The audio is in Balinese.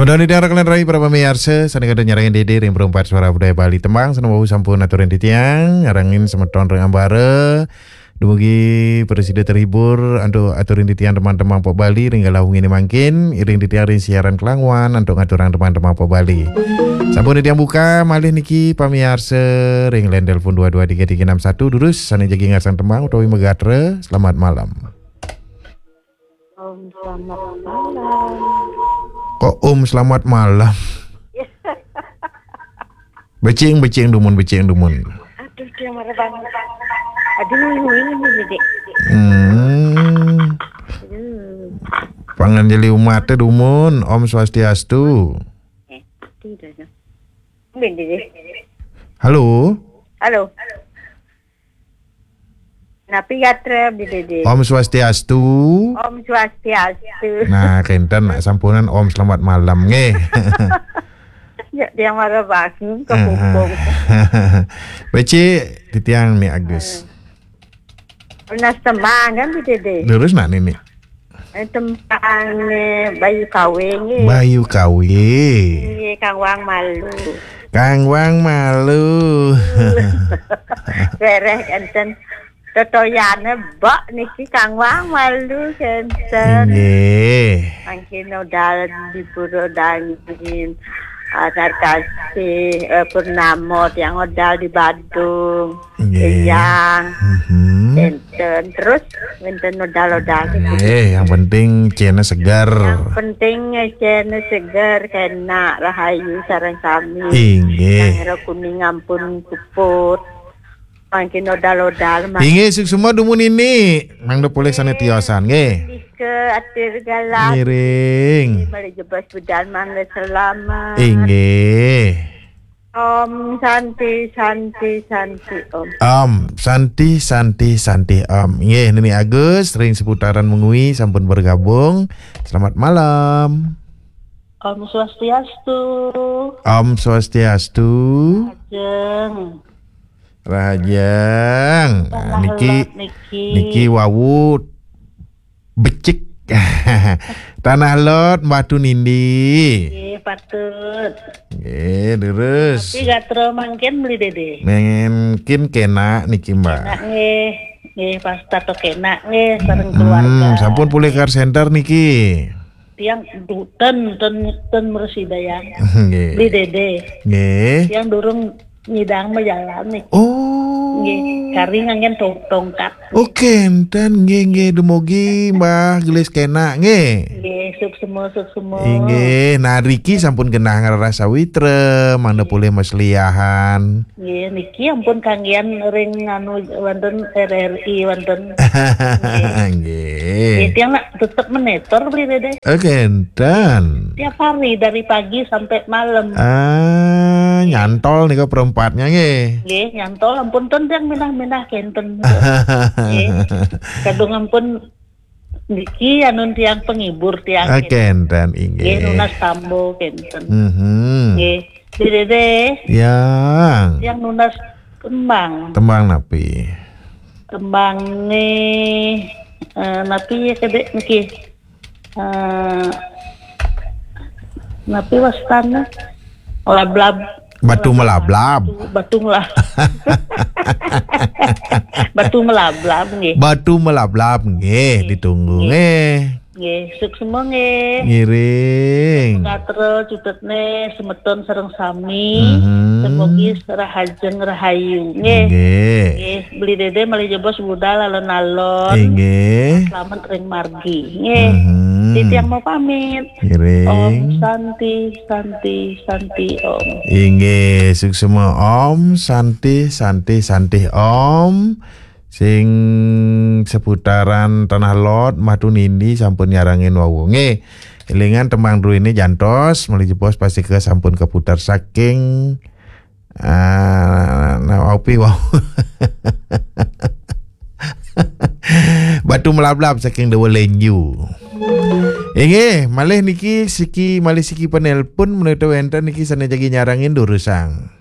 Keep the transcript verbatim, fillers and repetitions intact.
Udah nitih arah kalian rai para pamiarsa, sane kada nyarangin dede ring perempat suara budaya Bali. Tembang sane wau sampun aturin titiang, nyarangin semeton ring ambara. Dumugi prasida terhibur antuk aturin titiang teman-teman Pok Bali ring galah wengi ne mangkin, iring titiang ring siaran kelangwan antuk ngaturang teman-teman Pok Bali. Sampun titiang buka malih niki pamiarsa ring line telepon dua dua tiga tiga enam satu, durus sane jagi ngarsan tembang utawi magatra. Selamat malam. Om selamat malam. Kok om selamat malam? Becing, becing dumun, becing dumun. Aduh, dia marah banget. Aduh, ini, ini, Dek. Hmm. Aduh. Panganjali umat teh dumun, Om Swastiastu. Eh, tidak ada. Mungkin, Dek. Halo. Halo. Napi gatra, Bli Dede? Om Swastiastu. Om Swastiastu. Nah, kenten nak sampunan Om selamat malam nggih. Ya, dia marah bangun ke kupung. Becik, titiang ni Agus. Lunas tembang kan, Bli Dede? Lurus nak nini. Eh, tembang ni Bayu Kawe nggih. Bayu Kawe. Nggih, Kang Wang Malu. Kang Wang Malu. Bereh enten totoyane bok niki Kang Wang Malu kenten. Nggih. Mangkin udah di Pura Dangin. Anak kasih eh, Purnamo yang udah di Badung. Nggih. Yang Mhm. Enten terus enten nodal-nodal. Nggih, yang penting cene segar. Yang penting cene segar, kena rahayu sareng sami. Inggih. Yang kuning ampun puput. Mangkin nodal-nodal mah. Inggih, suksma dumun ini. Mangda polih sane tiosan nggih. Ke atir galah. Ngiring. Mari jebas budal mangga selamat. Inggih. Om Santi, Santi, Santi, Om. Om Santi, Santi, Santi, Om. Nggih, Nini Agus ring seputaran Mengwi sampun bergabung. Selamat malam. Om Swastiastu. Om Swastiastu. Ajeng. Rahajeng. Nah, niki, niki wau becik. Tanah Lot, Batu Nindi. Nggih, patut. Nggih, terus. Tapi gatra mangkin Beli Dede. Mangkin kena niki, Mbak. Kena nggih. Nggih, pas tato kena nggih sareng keluarga. Hmm, sampun pulih call center niki. Tiang du-, ten, ten, ten meresida yang. Nggih. Beli Dede. Nggih. Tiang durung nyidang majalan nih. Oh. Nggih, kari nganggen tong-, tongkat. Oke, enten nggih, nggih, dumugi Mbah gelis kena nggih. Nggih, suksma, suksma. Inggih, nah riki sampun genah ngraras sawitra, mangda polih masliahan. Nggih, niki ampun kanggian ring anu wonten R R I wonten. Nggih. Nggih, tiang nak tetep menetor Beli Dede. Oke, enten. Tiap hari dari pagi sampai malam. Ah, nyantol nika perempatnya nggih. Nggih, nyantol ampun ten tiang minah-minah kenten. Nggih. Kadung ampun niki anun tiang penghibur tiang. Ah, kenten, inggih. Nggih, nunas tambo kenten. Mhm. Nggih. Di Dede. Yang. Yang nunas tembang. Tembang napi? Tembang nih, eh, napi ya kedek niki. Eh, napi wastana? Lablab. Batu melablab. Batu, batu melab. Batu melablab nggih. Batu melablab nggih, ditunggu nggih. Nggih, suksma nggih. Ngiring. Gatra cutetne semeton sareng sami. Mhm. Semogi rahajeng rahayu nggih. Nggih. Nggih, Beli Dede malih jebos budal alon-alon. Inggih. Selamat ring margi nggih. Mhm. Titiang mau pamit. Ngiring. Om Santi, Santi, Santi, Om. Inggih, suksma Om Santi, Santi, Santi Om. Sing seputaran Tanah Lot, Matu Nindi sampun nyarangin wau. Nggih. Elingan tembang druene jantos, malih jebos pastika sampun kaputar saking, ah, nah, opi wau. Batu melablab saking Dewa Lenju. Inggih, malih niki siki, malih siki penelpon menawi wenten niki sane jagi nyarangin durusang.